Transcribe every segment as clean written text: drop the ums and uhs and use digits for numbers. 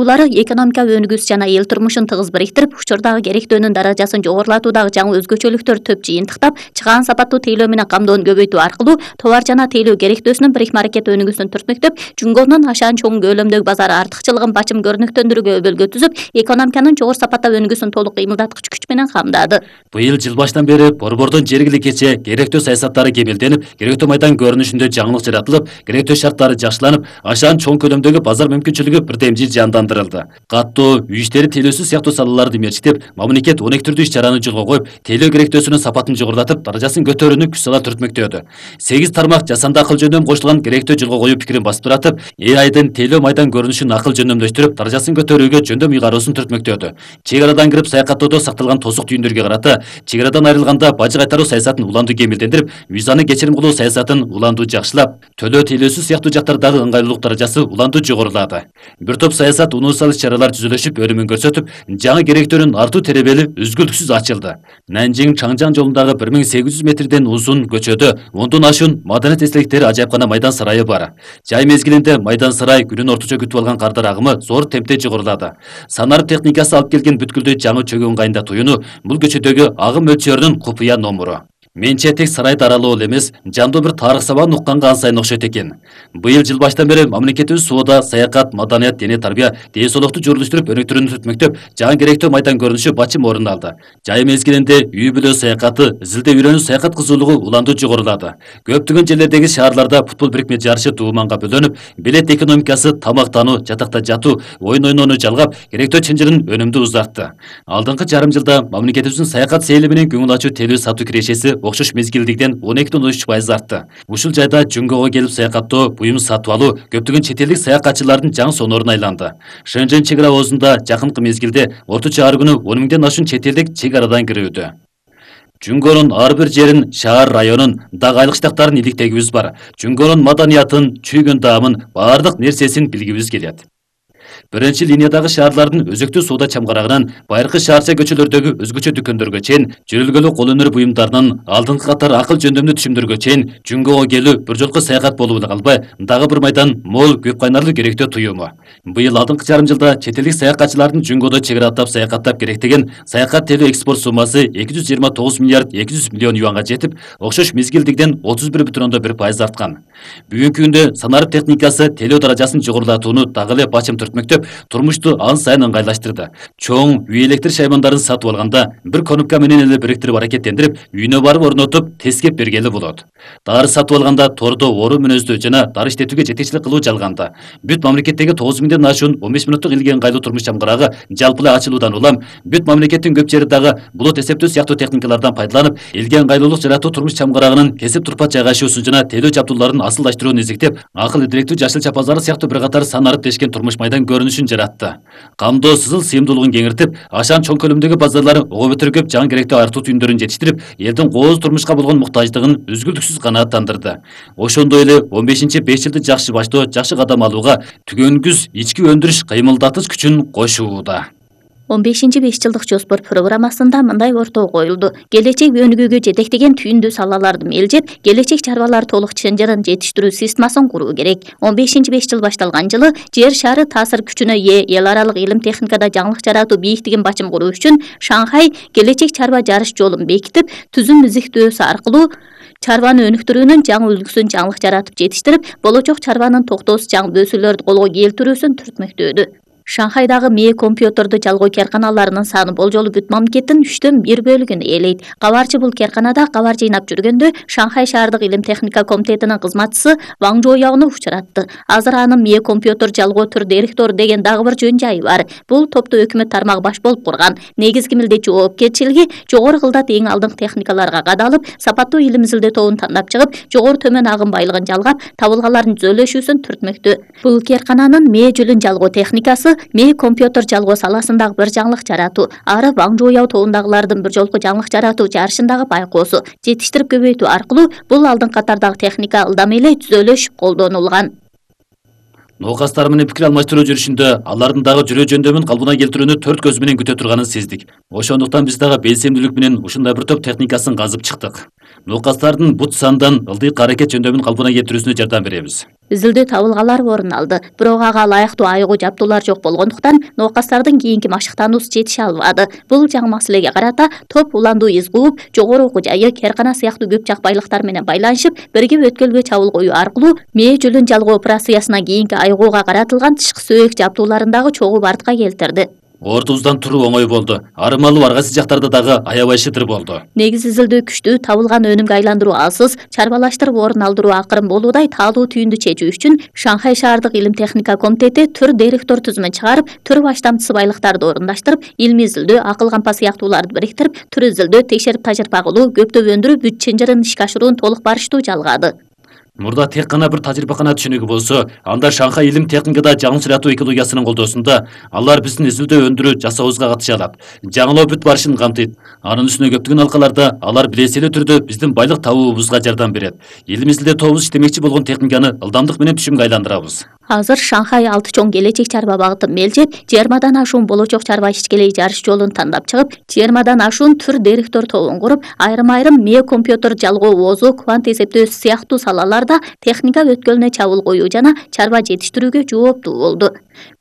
чыгуулары экономика өнүгүүсү жана эл турмушун тыгыз бириктирип, учурдагы керектөөнүн даражасын жогорулатуудагы жаңы өзгөчөлүктөр төп жыйынтыктап, чыгаан сапаттуу тейлөө менен камдоону көбөйтүү аркылуу товар жана тейлөө керектөөсүнүн бирикме аракет өнүгүүсүн түртмөктөп, Жунгонун ашаан чоң көлөмдөгү базар артыкчылыгын бачым көрүнүктөндүрүүгө өбөлгө түзүп, экономиканын жогору сапатта өнүгүүсүн толук кыймылдаткыч күч менен камдады. Быйыл жыл башынан бери борбордун жергиликче керектөө саясаттары кемелденип, керектөө майдан көрүнүшүндө жаңылык жаратылып, керектөө шарттары жакшыланып, ашаан чоң көлөмдөгү базар мүмкүнчүлүгү бирдемжил жандандырылды. Каттоо, үй иштери, тейлөөсү сыяктуу салаларды мерчитип, мамлекет 12 түрдүү иш-чараны жолго коюп, тейлөө керектөөсүнүн сапатын жогорулатып, даражасын көтөрүүнү күч сала түртмөктөдү. 8 тармак жасанды акыл жөндөм коштулган керектөө жолго коюу пикирин басып туратып, АИдин тейлөө майдан көрүнүшүн акыл жөндөмдөштүрүп, даражасын көтөрүүгө жөндөм ыйгаруусун түртмөктөдү. Чек арадан кирип саякаттоодо сакталган тосук түйүндөргө карата чек арадан айрылганда бажы кайтаруу саясатын уланду кемелдендирип, визаны кечирим кылуу саясатын уланду жакшылап, төлөө тейлөөсү сыяктуу жактардагы ыңгайлуулук даражасы уланду жогорулады. Бир топ саясат унуусал иш-чаралар түзүлүшүп, өнүмүн көрсөтүп, жаңы керектөөнүн артуу теребели үзгүлтүксүз ачылды. Нанжиң Чаңжаң жолундагы 1800 метрден узун көчөдө 10дон ашуун маданият эстеликтери ажайыпкана майдан сарайы бар. Жай мезгилинде майдан сарай күнүн орточо күтүп алган кардар агымы зор темпте жогорулады. Санарып техникасы алып келген бүткүлдүү жаңы чөгүү ыңгайында туюну бул көчөдөгү агым мөлчөрүнүн купуя номуру. Менче тек сарайды аралоо эле эмес, жандуу бир тарых сабагын укканга ансайын окшойт экен. Быйыл жыл баштан бери мамлекетибиз соода, саякат, маданият, дене тарбия, ден соолукту журулуштуруп, өнүктүрүүнү түртмөктөп, жаңы керектөө майдан көрүнүшү бачым орун алды. Жай мезгилинде үй бүлө саякаты, изилдөө үйрөнүү саякат кызуулугу уланду жогорулады. Көптөгөн жерлердеги шаарларда футбол бирикме жарышы тууманга бөлөнүп, билет экономикасы, тамактануу, жатакта жатуу, оюн ойноону жалгап, керектөө чынжырын өнүмдү узартты. Алдыңкы жарым жылда мамлекетибиздин саякат сейили менен көңүл ачуу тейлөө сатуу кирешеси окшош мезгилдигиден 12,3% артты. Ушул жайда Жунгого келип саякаттоо, буюм сатып алуу көптөгөн чет элдик саякатчылардын жаңы соноруна айланды. Шэньчжэнь чек ара оозунда жакынкы мезгилде орточо ар күнү 10 миңден ашуун чет элдик чек арадан кирүүдө. Жунгонун ар бир жерин, шаар районун, дагы айлык штаттарын иликтегибиз бар. Жунгонун маданиятын, чүйгөн даамын, баардык нерсесин билгибиз келет. Биринчи линиядагы шаарлардын өзөктүү соода чамгарагынан байыркы шаарча көчөлөрдөгү өзгөчө дүкөндөргө чейин, жүрүлгөлү кол өнөр буюмдарынын алдыңкы катар акыл жөндөмдүү түшүмдөргө чейин Жунгого келүү бир жолку саякат болуп эле калбай, дагы бир майдан мол көп кайнарлуу керектөө туюму. Быйыл алдыңкы жарым жылда чет элдик саякатчылардын Жунгодо чек ара аттап саякаттап керектеген саякат тейлөө экспорт суммасы 229 миллиард 200 миллион юанга жетип, окшош мезгилдигиден 31,1% арткан. Бүгүнкү күндө санарып техникасы тейлөө даражасын жогорулатууну дагы эле бачым түртмөктөп, турмушту ан сайын ыңгайлаштырды. Чоң үй электр шаймандарын сатып алганда бир конопка менен эле бириктирип аракеттендирип, үйүнө барып орнотуп, тескеп бергели болот. Дары сатып алганда тордо ору мүнөздүү жана дары иштетүүгө жетекчилик кылуу жалганда. Бүт мамлекеттеги 9 миңден ашуун 15 минуттук илге ыңгайлуу турмуш чамгарагы жалпылай ачылуудан улам, бүт мамлекеттин көп жери дагы булут эсептөө сыяктуу техникалардан пайдаланып, илге ыңгайлуулук жаратуу турмуш чамгарагынын кесип турпат жайгашуусун жана тейлөө жабдууларын асылдаштырууну изиктеп, акыл идилектүү жашыл чапазары сыяктуу бир катар санарып дешкен турмуш майдан көрүнүшүн жаратты. Камдоо сызыл сыйымдуулугун кеңиртип, ашаан чоң көлөмдөгү базарлары ого бетер көп жаңы керектөө артуу түйүндөрүн жетиштирип, элдин кооз турмушка болгон муктаждыгын үзгүлтүксүз канааттандырды. Ошондой эле 15-5 жылды жакшы баштоо, жакшы кадам алууга түгөнгүз ички өндүрүш кыймылдатыч күчүн кошууда. 15-5 жылдык жоспор программасында мындай ортого коюлду. Келечек өнүгүүгө жетектеген түйүндүү салаларды мелжеп, келечек чарбалар толук чынжырын жетиштирүү системасын куруу керек. 15-5 жыл башталган жылы жер шары таасир күчүнө ээ эл аралык илим техникада жаңылык жаратуу бийиктигин бачым куруу үчүн Шанхай келечек чарба жарыш жолун бекитип, түзүм изиктөөсү аркылуу чарбаны өнүктүрүүнүн жаңы үлгүсүн жаңылык жаратып жетиштирип, болочок чарбанын токтоосуз жаңы өсүүлөрдү колго келтирүүсүн түртмөктөдү. Шанхайдагы МЭ компьютерду жалгоо керканаларынын саны болжолу бүт мамлекеттин 3/4 бөлүгүн ээлейт. Кабарчы бул керканада кабар жыйнап жүргөндө Шанхай шаардык илим техника комитетинин кызматчысы Ваң Жояуну учуратты. Азыр анын МЭ компьютер жалгоо түр директору деген дагы бир жөн жайы бар. Бул топту өкмөт тармагы баш болуп курган. Негизги милдет жоопкерчилиги жогору кылдат эң алдыңкы техникаларга кадалып, сапаттуу илим изилдөө тобун тандап чыгып, жогору төмөн агым байлыгын жалгап, табылгалардын түзөлүшүүсүн түртмөктө. Бул керкананын МЭ жүлүн жалгоо техникасы МЭ компьютер жалгоо саласындагы бир жаңылык жаратуу, ары Ваң Жояу тобундагылардын бир жолку жаңылык жаратуу жарышындагы байкоосу, жетиштирип көбөйтүү аркылуу бул алдыңкы катардагы техника ылдам эле түзөлүшүп колдонулган. Ноокастар менен пикир алмаштыруу жүрүшүндө алардын дагы жүрөө жөндөмүн калыбына келтирүүнү төрт көз менен күтө турганын сездик. Ошондуктан биз дагы белсемдүүлүк менен ушундай бир топ техникасын казып чыктык. Нокастардын бут сандан ылдыйк аракет жөндөмүн калпына келтирүүсүнө жардам беребиз. Изилдөө табылгалар орун алды. Бирок ага ылайыктуу айыгуу жабдуулар жок болгондуктан нокастардын кийинки машыктануусу жетише албады. Бул жаңы маселеге карата топ уландуу из кууп, жогору окуу жайы, керкана сыяктуу көп жак байлыктар менен байланышып, бирге өткөлгө чабуул коюу аркылуу мээ жүлүн жалгоо операциясына кийинки айыгууга каратылган тышкы сөөк жабдууларындагы чогуу бартка келтирди. Ортубуздан туруу оңой болду. Арымалуу ар кайсы жактарда дагы аябай шытыр болду. Негиз изилдөө күчтүү, табылган өнүмгө айландыруу алсыз, чарбалаштырып орун алдыруу акырын болуудай таалуу түйүндү чечүү үчүн Шанхай шаардык илим техника комитети түр директор түзүмүн чыгарып, түр баштамчысы байлыктарды орундаштырып, илимий изилдөө, акыл кампа сыяктууларды бириктирип, түр изилдөө, текшерип тажырыйба кылуу, көптөп өндүрүү, бүт чынжырын ишке ашыруун толук барыштуу жалгады. Мурда тек гана бир тажрыйбакана түшүнүгү болсо, анда Шанхай илим техникада жаңы сүрөтүү экологиясынын колдоосунда алар биздин изилдөө өндүрүү жасообузга катыша алат. Жаңылоо бүт барышын камтыйт. Анын үстүнө көптөгөн алкаларда алар билесилүү түрдө биздин байлык табуубузга жардам берет. Илим изилдөө тобубуз иштемекчи болгон техниканы ылдамдык менен түшүмгө айландырабыз. Азыр Шанхай 6 чоң келечек чарба багытын мелжеп, 20дан ашуун болочок чарба ишкелей жарыш жолун тандап чыгып, 20дан ашуун түр директор тобун куруп, айрым-айрым мээ компьютер жалгоо оозу, квант эсептөө сыяктуу салаларда техника өткөлүнө чабуул коюу жана чарба жетиштирүүгө жооптуу болду.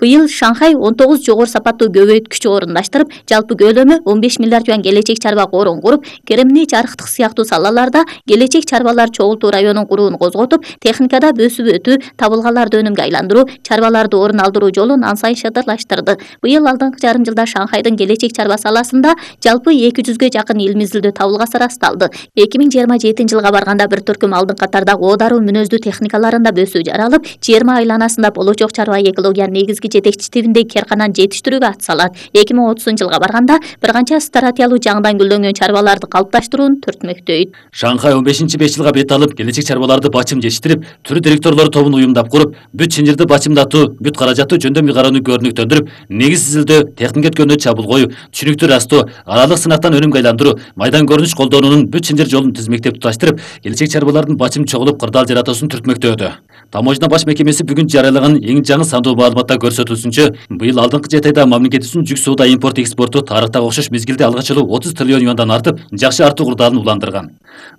Быйыл Шанхай 19 жогору сапаттуу көбөйткүч орундаштырып, жалпы көлөмү 15 миллиард юан келечек чарба корун куруп, керемний жарыктык сыяктуу салаларда келечек чарбалар чогултуу районун курууну козготуп, техникада бөсүп өтүү, табылгаларды өнүмгө айландыруу, чарбаларды орун алдыруу жолун ан сайын шыдырлаштырды. Быйыл алдыңкы жарым жылда Шанхайдын келечек чарба саласында жалпы 200ге жакын илимий изилдөө табылгасы ырасталды. 2027 жылга барганда бир төркүм алдыңкы катардагы оодаруу мүнөздүү техникаларында бөсүү жаралып, 20 айланасында болочок чарба экологиянын негизги жетекчи тибиндеги керкананы жетиштирүүгө атсалат. 2030 жылга барганда бир канча стратиялуу жаңыдан гүлдөнгөн чарбаларды калыпташтырууну түртмөктөйт. Шанхай 15-5 жылга бет алып, келечек чарбаларды бачым жетиштирип, түр директорлор тобун уюмдап куруп, бүт чынжырды бачымдатуу, бүт каражатты жөндөм ыйгарууну көрүнүктөндүрүп, негиз изилдөө, техника өткөлүнө чабуул коюу, түшүнүктүү растоо, аралык сынактан өнүмгө айландыруу, майдан көрүнүш колдонуунун бүт чынжыр жолун тизмектеп туташтырып, келечек чарбалардын бачым чогулуп кырдаал жаратуусун түртмөктөөдү. Таможня баш мекемеси бүгүн жарыялаган эң жаңы сандуу маалыматта көрсөтүлсүнчө, быйыл алдыңкы 7 айда мамлекетибиздин жүк соода импорт экспорту тарыхтагы окшош мезгилде алгач эле 30 триллион юандан артып, жакшы артуу кырдаалын уландырган.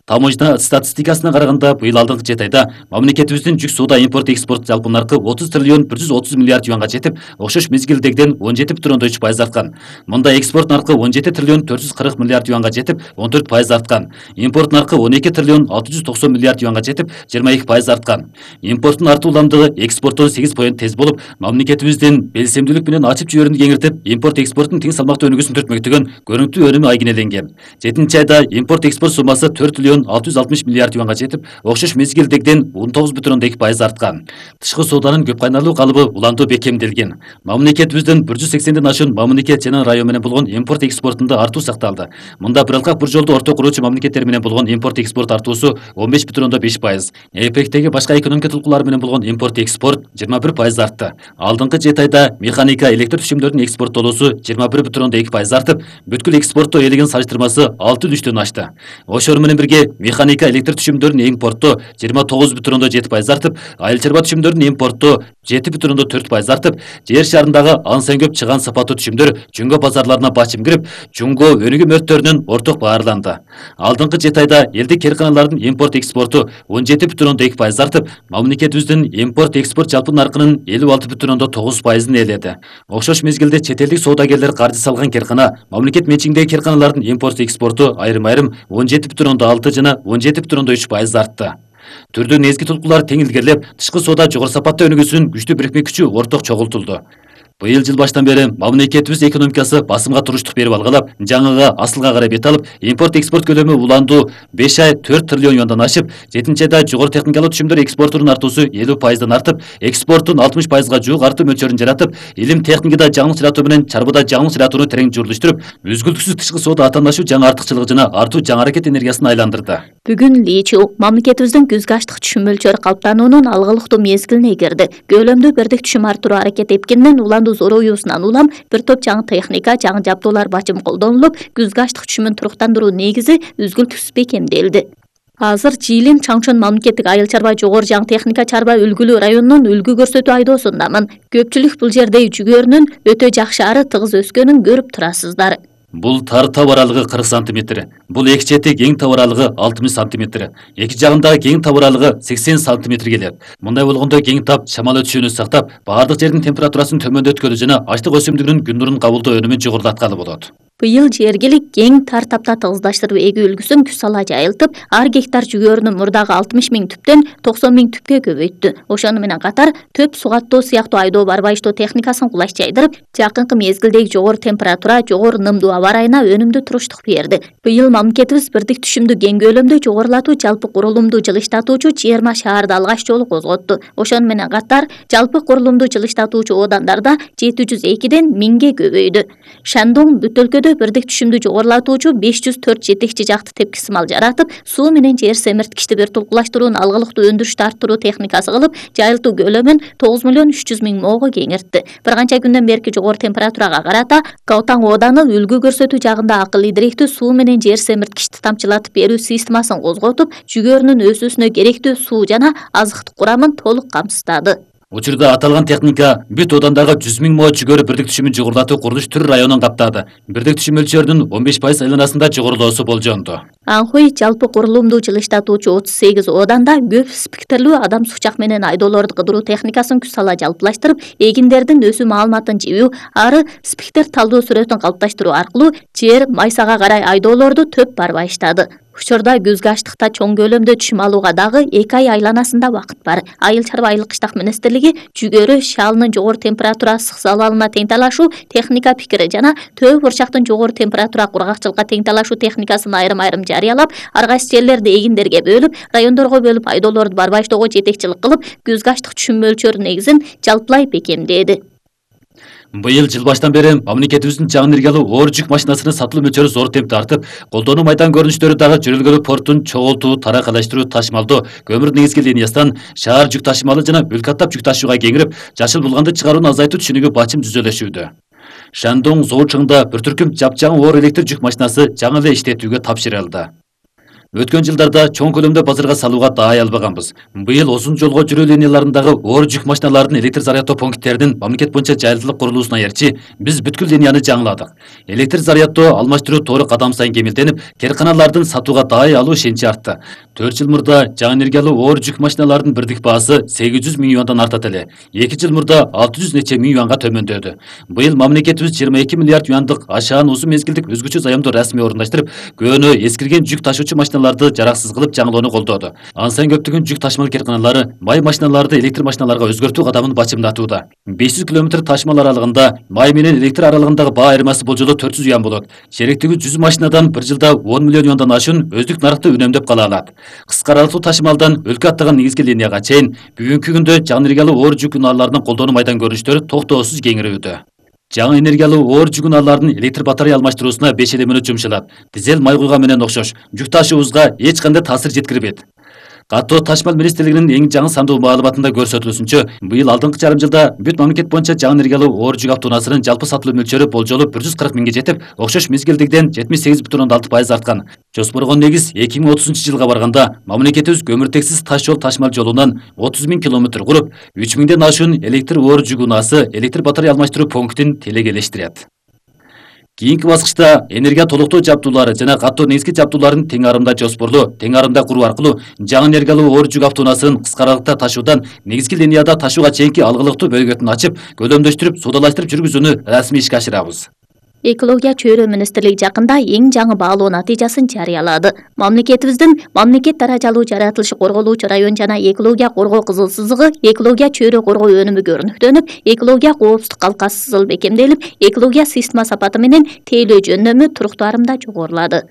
Таможня статистикасына караганда, быйыл алдыңкы 7 айда мамлекетибиздин жүк соода импорт экспорт жалпы наркы 30 триллион 130 миллиард юанга жетип, окшош мезгилдегиден 17,3% арткан. Мында экспорт наркы 17 триллион 440 миллиард юанга жетип, 14% арткан. Импорт наркы 12 триллион 690 миллиард юанга жетип, 22% арткан. Импорттун артуу уламдыгы экспорттон 8% тез болуп, мамлекетибиздин белсемдүүлүк менен ачып жиберүүнү кеңиртип, импорт экспорттун тең салмактуу өнүгүүсүн түртмөктөгөн көрүнүктүү өнүмү айгинеленген. 7 айда импорт экспорт суммасы 4 триллион 660 миллиард юанга жетип, окшош мезгилдегиден 19,2% арткан. Тышкы сооданын көп кайнарлуу калыбы улантуу бекемделген. Мамлекетибиздин 180ден ашуун мамлекет жана район менен болгон импорт экспортунда артуу сакталды. Мында бир алкак бир жолду орто куруучу мамлекеттер менен болгон импорт экспорт артуусу 15,5%. ЭПЕКтеги башка экономика толкуулары менен болгон импорт экспорт 21% артты. Алдыңкы 7 айда механика, электр түшүмдөрүнүн экспорттолуусу 21,2% артып, бүткүл экспорттоо элеген салыштырмасы 6,3-төн ашты. Ошор менен бирге механика, электр түшүмдөрүнүн импорттоо 29,7% артып, айыл чарба түшүмдөрүнүн импорттоо 7,4% артып, жер шарындагы ан сайын көп чыган сапаттуу түшүмдөр Жуңго базарларына бачым кирип, Жуңго өнүгүү мөрттөрүнүн орток баарланды. Алдыңкы 7 айда элдик керканалардын импорт экспорту 17,2% артып, мамлекетибиздин импорт экспорт жалпы наркынын 56,9%ын ээледи. Окшош мезгилде чет элдик соодагерлер каржы салган керкана, мамлекет менчигиндеги керканалардын импорт экспорту айрым-айрым 17,6 жана 17,3% артты. Түрдүү негизги толкуулар тең илгерилеп, тышкы соода жогору сапаттуу өнүгүүсүнүн күчтүү бирикме күчү орток чогултулду. Быйыл жыл баштан бери мамлекетибиз экономикасы басымга туруштук берип алгалап, жаңыга асылга карай бет алып, импорт экспорт көлөмү уландуу 5 ай 4 триллион юандан ашып, 7 айда жогору техникалуу түшүмдөр экспортунун артуусу 50%дан артып, экспорттун 60%га жуук артуу мөлчөрүн жаратып, илим техникада жаңылык жаратуу менен чарбада жаңылык жаратууну терең журулуштуруп, үзгүлтүксүз тышкы соода атаандашуу жаңы артыкчылыгы жана артуу жаңы аракет энергиясын айландырды. Бүгүн Ли Чу мамлекетибиздин күзгө аштык түшүм мөлчөрү калыптануунун алгылыктуу мезгилине кирди. Көлөмдүү бирдик түшүм арттыруу аракет эпкенден уландуу зороюусунан улам бир топ жаңы техника, жаңы жабдуулар бачым колдонулуп, күзгө аштык түшүмүн туруктандыруу негизи үзгүлтүксүз бекемделди. Азыр Жиилин Чаңчон мамлекеттик айыл чарба жогору жаңы техника чарба үлгүлүү районунун үлгү көрсөтүү айдоосундамын. Көпчүлүк бул жерде жүгөрүнүн өтө жакшы ары тыгыз өскөнүн көрүп турасыздар. Бул тар тап аралыгы 40 сантиметр. Бул эки чети кең тап аралыгы 60 сантиметр. Эки жагындагы кең тап аралыгы 80 сантиметр келет. Мындай болгондо кең тап шамал өтүшүнү сактап, бардык жердин температурасын төмөндөткөлү жана ачлык өсүмдүгүнүн күн нурун кабылдоо өнүмүн жогорулаткалы болот. Быйыл жергилик кең тар тапта тыгыздаштырып эгүү үлгүсүн күз сала жайылтып, ар гектар жүгөрүнүн мурдагы 60 000 түптөн 90 000 түпкө көбөйттү. Ошону менен катар төп сугаттоо сыяктуу айдоо барбайыштоо техникасын кулаш жайдырып, жакынкы мезгилдеги жогору температура, жогору нымдуу аба ырайына өнүмдүү туруштук берди. Быйыл мамлекетибиз бирдик түшүмдү кең көлөмдө жогорулатуу жалпы курулумду жылыштатуучу 20 шаарды алгач жолу козготту. Ошону менен катар жалпы курулумду жылыштатуучу оодандарда 702ден 1000ге көбөйдү. Шандон бүт өлкөдө бирдик түшүмдү жогорулатуучу 504 жетекчи жакты тепки сымал жаратып, суу менен жер семирткичти бир тулкулаштырууну алгылыктуу өндүрүштү арттыруу техникасы кылып, жайылтуу көлөмүн 9 300 000 моого кеңиртти. Бир канча күндөн берки жогору температурага карата Калтаң ооданы үлгү көрсөтүү жагында акыл идиректүү суу менен жер семирткичти тамчылатып берүү системасын козготуп, жүгөрүнүн өсүүсүнө керектүү суу жана азыктык курамын толук камсыздады. Учурда аталган техника бүт оодандагы 100 000 мо жүгөрү бирдик түшүмүн жогорулатуу курулуш түр районун каптады. Бирдик түшүм мөлчөрүнүн 15% айланасында жогорулоосу болжонду. Анхуй жалпы курулумду жылыштатуучу 38 ооданда көп спектрлүү адам сучак менен айдоолорду кыдыруу техникасын күз сала жалпылаштырып, эгиндердин өсүү маалыматын жибүү, ары спектр талдоо сүрөтүн калыпташтыруу аркылуу жер майсага карай айдоолорду төп барбайыштады. Учурда күзгү аштыкта чоң көлөмдө түшүм алууга дагы 2 ай айланасында убакыт бар. Айыл чарба айыл кыштак министрлиги жүгөрү шалынын жогору температура ысык залалына тең талашуу техника пикири жана төө бурчактын жогору температура кургакчылыкка тең талашуу техникасын айрым-айрым жарыялап, ар кайсы жерлерди эгиндерге бөлүп, райондорго бөлүп айдоолорду барбайыштоого жетекчилик кылып, күзгү аштык түшүм мөлчөрү негизин жалпылай бекемдеди. Быйыл жыл баштан бери мамлекетибиздин жаңы энергиялуу оор жүк машинасынын сатылуу мөлчөрү зор темпте артып, колдонуу майдан көрүнүштөрү дагы жөнөлгөлү порттун чогултуу, таракалаштыруу, ташмалдоо, көмүр негизги линиясынан шаар жүк ташымалы жана өлкө аттап жүк ташууга кеңирип, жашыл булганды чыгарууну азайтуу түшүнүгү бачым түзөлөшүүдө. Шандон Зоочуңда бир түркүм жапжаңы оор электр жүк машинасы жаңы эле иштетүүгө тапшырылды. Өткөн жылдарда чоң көлөмдө базарга салууга даай албаганбыз. Быйыл узун жолго жүрүү линияларындагы оор жүк машиналарынын электр зарядтоо пункттеринин мамлекет боюнча жайылтылып курулуусуна ээрчи биз бүткүл линияны жаңыладык. Электр зарядтоо алмаштыруу тоору кадам сайын кемелденип, керканалардын сатууга даай алуу ишеничи артты. 4 жыл мурда жаңы энергиялуу оор жүк машиналарынын бирдик баасы 800 000 юандан артат эле. 2 жыл мурда 600 нече миң юанга төмөндөдү. Быйыл мамлекетибиз 22 миллиард юандык ашаан узун мезгилдик өзгөчө заемду расмий орундаштырып, көөнө эскирген жүк ташуучу машиналарды жараксыз кылып жаңылоону колдоду. Ансайн көптөгөн жүк ташмал керканалары май машиналарды электр машиналарга өзгөртүү кадамын бачымдатууда. 500 км ташмал аралыгында май менен электр аралыгындагы баа айырмасы болжолу 400 юан болот. Черектеги 100 машинадан бир жылда 10 миллион юандан ашуун өздүк нарыкты үнөмдөп кала алат. Кыска аралыктуу ташмалдан өлкө аттаган негизги линияга чейин бүгүнкү күндө жаңы энергиялуу оор жүк унааларынын колдонуу майдан көрүнүштөрү токтоосуз кеңирүүдө. Жаңы энергиялуу оор жүк унааларынын электр батарея алмаштыруусуна 5 мүнөт жумшалат. Дизель май куйган менен окшош, жүк ташуубузга эч кандай таасир жеткирбейт. Каттоо ташмал министрлигинин эң жаңы сандуу маалыматында көрсөтүлүшүнчө, быйыл алдыңкы жарым жылда бүт мамлекет боюнча жаңы энергиялуу оор жүк автоунаасынын жалпы сатылуу мөлчөрү болжолу 140 миңге жетип, окшош мезгилдегиден 78,6% арткан. Жоспорго негиз 2030 жылга барганда мамлекетибиз көмүртексиз таш жол ташмал жолунан 30 000 километр куруп, 3 000ден ашуун электр оор жүк унаасы электр батарея алмаштыруу пунктин телегелештирет. Кийинки баскычта энергия толуктоо жабдуулары жана каттоо негизги жабдууларын тең арымда жоспорлуу, тең арымда куруу аркылуу жаңы энергиялуу оор жүк автоунаасын кыска аралыкта ташуудан негизги линияда ташууга чейинки алгылыктуу бөлгөтүн ачып, көлөмдөштүрүп, суудалаштырып жүргүзүүнү расмий ишке ашырабыз. Экология чөйрө министрлиги жакында эң жаңы баалоо натыйжасын жарыялады. Мамлекетибиздин мамлекет даражалуу жаратылышы корголуучу район жана экология коргоо кызыл сызыгы экология чөйрө коргоо өнүмү көрүнүктөнүп, экология коопсуздук калкасы сызыл бекемделип, экология система сапаты менен тейлөө жөндөмү туруктуу арымда жогорулады.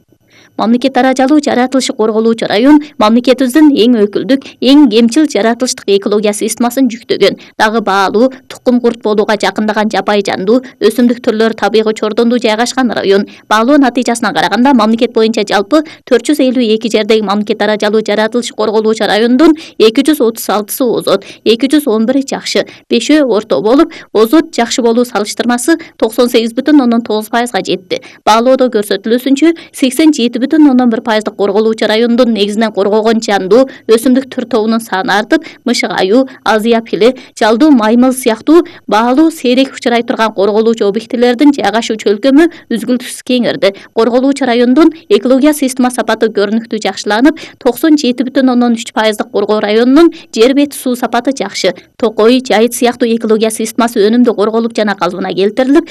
Мамлекет даражалуу жаратылышы корголуучу район мамлекетибиздин эң өкүлдүк, эң кемчил жаратылыштык экология системасын жүктөгөн. Дагы баалуу, тукум курт болууга жакындаган жапай жандуу, өсүмдүк түрлөрү табигый чордондуу жайгашкан район. Баалоо натыйжасына караганда мамлекет боюнча жалпы 452 жердеги мамлекет даражалуу жаратылышы корголуучу райондун 236сы озот, 211 жакшы, 5 орто болуп, озот жакшы болуу салыштырмасы 98,9% жетти. Баалоодо көрсөтүлүүсүнчө 87 7,1% корголуучу райондун негизинен коргогон жандуу өсүмдүк түр тобунун саны артып, мышык аюу, азыя пили, жалдуу маймыл сыяктуу баалуу сейрек учурай турган корголуучу объектилердин жайгашуу чөлкөмү үзгүлтүксүз кеңирди. Корголуучу райондун экология система сапаты көрүнүктүү жакшыланып, 97,3% коргоо районунун жер бети суу сапаты жакшы. Токой, Жайыт сыяктуу экология системасы өнүмдүү корголуп жана калыбына келтирилип,